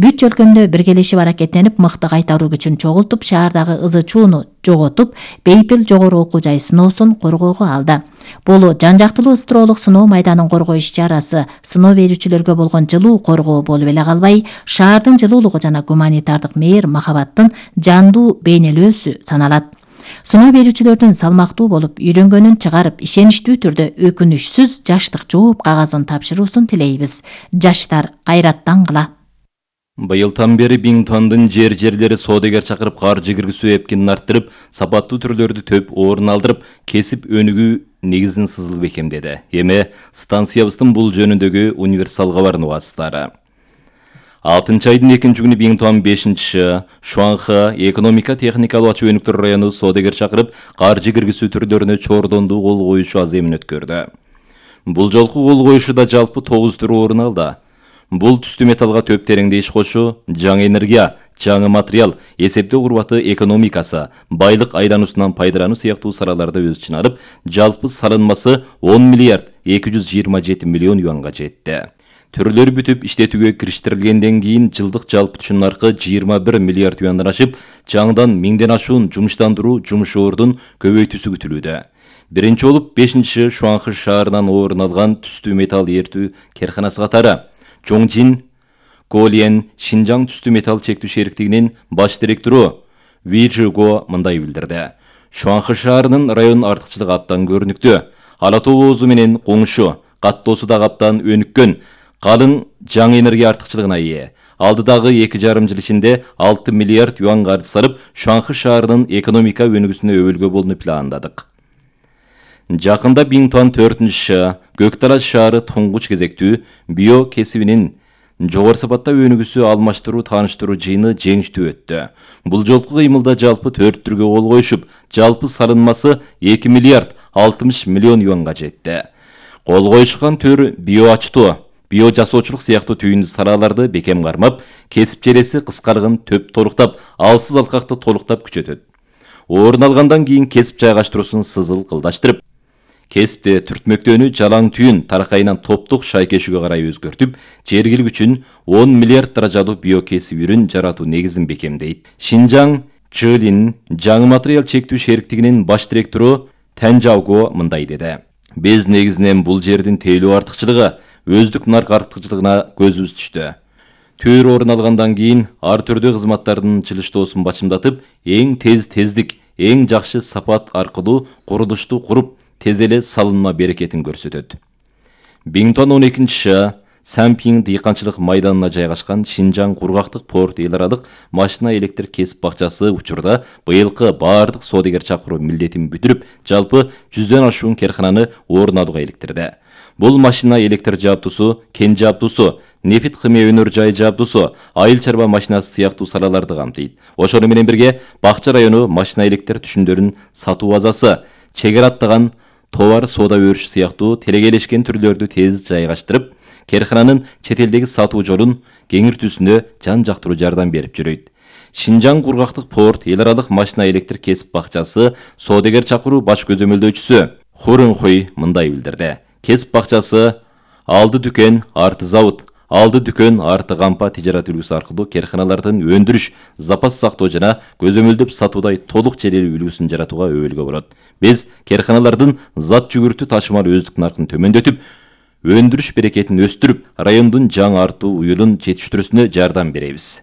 бүт чөлкөмдө биргелешип аракеттенип мыкты кайтаруу күчүн чогултуп, шаардагы ызы чууну жоготуп, Бейпил жогору окуу жай сыноосун коргоого алды. Бул жан-жактылуу ыстыроолук сыноо майданын коргоо иш-чарасы сыноо берүүчүлөргө болгон жылуу коргоо болуп эле калбай, шаардын жылуулугу жана гуманитардык мээр махабаттын жандуу бейнелөөсү саналат. Сыноо берүүчүлөрдүн салмактуу болуп үйрөнгөнүн чыгарып, ишеничтүү түрдө өкүнүчсүз жаштык жооп кагазын тапшыруусун тилейбиз. Жаштар кайраттан кыла. Быйылдан бери Бингтондун жерлери соодагер чакырып каржы киргизүү эпкинин арттырып, сапаттуу түрлөрдү төп орун алдырып, кесип өнүгүү негизин сызыл бекемдеди. Эми станциябыздын бул жөнүндөгү универсал кабарын угасыздар. 6 айдын 2 күнү Бингтон 5 Шуанха экономика техникалык ачуу өнүктүрүү району соодагер чакырып, каржы киргизүү түрлөрүнө чордондуу кол коюшу аземин өткөрдү. Бул жолку кол коюшуда жалпы 9 түр орун алды. Бул түстүү металлга төп тереңде иш кошуу, жаңы энергия, жаңы материал, эсептөө курбаты экономикасы, байлык айлануусунан пайдалануу сыяктуу салаларда өз ичине алып, жалпы салынмасы 10 миллиард 227 миллион юанга жетти. Түрлөрү бүтүп иштетүүгө кириштирилгенден кийин жылдык жалпы түшүм наркы 21 миллиард юандан ашып, жаңыдан 1000ден ашуун жумуштандыруу жумуш ордун көбөйтүүсү күтүлүүдө. Биринчи болуп 5 Шуанхы шаарынан орун алган түстүү металл эртүү керканасы катары Чоңжин Голиен Шинжаң түстүү металл чектүү шериктигинин баш директору Ви Жиго мындай билдирди. Шуанхы шаарынын район артыкчылыгы абдан көрүнүктүү. Ала тоо оозу менен коңшу, каттоосу да абдан өнүккөн, калың жаңы энергия артыкчылыгына ээ. Алдыдагы 2,5 жыл ичинде 6 миллиард юан каржы салып, Шуанхы шаарынын экономика өнүгүүсүнө өбөлгө болууну пландадык. Жакында Бингтон 4 Көкталаш шаары туңгуч кезектүү био кесибинин жогору сапатта өнүгүүсү алмаштыруу тааныштыруу жыйыны жеңиштүү өттү. Бул жолку кыймылда жалпы 4 түргө кол коюшуп, жалпы салынмасы 2 миллиард 60 миллион юанга жетти. Кол коюшкан төр био ачтоо, био жасоочулук сыяктуу түйүндү салаларды бекем кармап, кесип желеси кыскарыгын төп толуктап, алсыз алкакты толуктап күчөтөт. Орун алгандан кийин кесип жайгаштыруусун сызыл кылдаштырып, кесипте түртмөктөөнү жалаң түйүн таракайынан топтук шайкешүүгө карай өзгөртүп, жергилик үчүн 10 миллиард даражалуу биокесип үрүн жаратуу негизин бекемдейт. Шинжаң Чылин жаңы материал чектүү шериктигинин баш директору Тэнжауго мындай деди. Биз негизинен бул жердин тейлөө артыкчылыгы, өздүк нарк артыкчылыгына көзүбүз түштү. Төр орун алгандан кийин ар түрдүү кызматтардын чылыштоосун бачымдатып, эң тездик, эң жакшы сапат аркылуу курулушту куруп, тез эле салынма берекетин көрсөтөт. Бингтон 12 Сампинг дыйканчылык майданына жайгашкан Шинжаң кургактык порт эл аралык машина электр кесип бакчасы учурда быйылкы баардык соодагер чакыруу милдетин бүтүрүп, жалпы 100дөн ашуун керкананы орун алууга иликтирди. Бул машина электр жабдуусу, кен жабдуусу, нефит химия өнөр жай жабдуусу, айыл чарба машинасы сыяктуу салаларды камтыйт. Ошону менен бирге Бакча району машина электр түшүмдөрүн сатуу базасы, чегара аттаган товар соода өрүш сыяктуу телегелешкен түрлөрдү тез жайгаштырып, керкананын чет элдеги сатуу жолун кеңиртүүсүнө жан жактыруу жардам берип жүрөйт. Шинжаң кургактык порт эл аралык машина электр кесип бакчасы соодагер чакыруу баш көзөмөлдөөчүсү Хурунхуй мындай билдирди. Кесип бакчасы алды дүкөн, арты завод, алды дүкөн, арты кампа тижарат үлгүсү аркылуу керканалардын өндүрүш, запас сактоо жана көзөмөлдөп сатуудай толук желелүү үлгүсүн жаратууга өбөлгө болот. Биз керканалардын зат жүгүртүү ташымал өздүк наркын төмөндөтүп, өндүрүш берекетин өстүрүп, райондун жаңы артуу уюлун жетиштирүүсүнө жардам беребиз.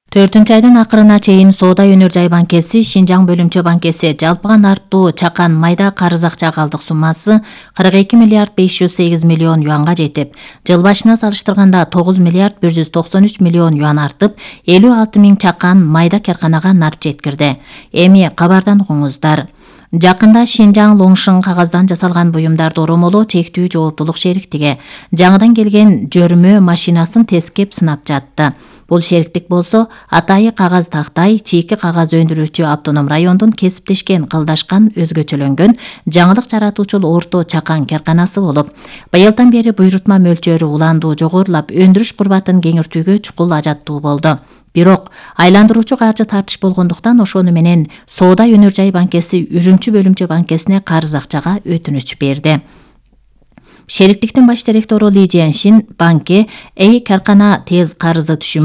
4-айдын акырына чейин Соода өнөр жай банкеси, Шинжаң бөлүмчө банкеси жалпыган артуу чакан майда карыз акча калдык суммасы 42 миллиард 508 миллион юанга жетип, жыл башына салыштырганда 9 миллиард 193 миллион юан артып, 56 миң чакан майда керканага нарт жеткирди. Эми кабардан угуңуздар. Жакында Шинжаң Лоңшың кагаздан жасалган буюмдарды оромолоо чектүү жооптулук шериктиги жаңыдан келген жөрмө машинасын тескеп сынап жатты. Бул шериктик болсо атайы кагаз тактай, чийки кагаз өндүрүүчү автоном райондун кесиптешкен, кылдашкан, өзгөчөлөнгөн жаңылык жаратуучул орто чакан керканасы болуп, быйылдан бери буйрутма мөлчөрү уландуу жогорулап, өндүрүш курбатын кеңиртүүгө чукул ажаттуу болду. Бирок айландыруучу каржы тартыш болгондуктан ошону менен Соода өнөр жай банкеси Үрүмчү бөлүмчө банкесине карыз акчага өтүнүч берди. Шериктиктин баш директору Ли Жиэншин банке керкана тез карызды түшүм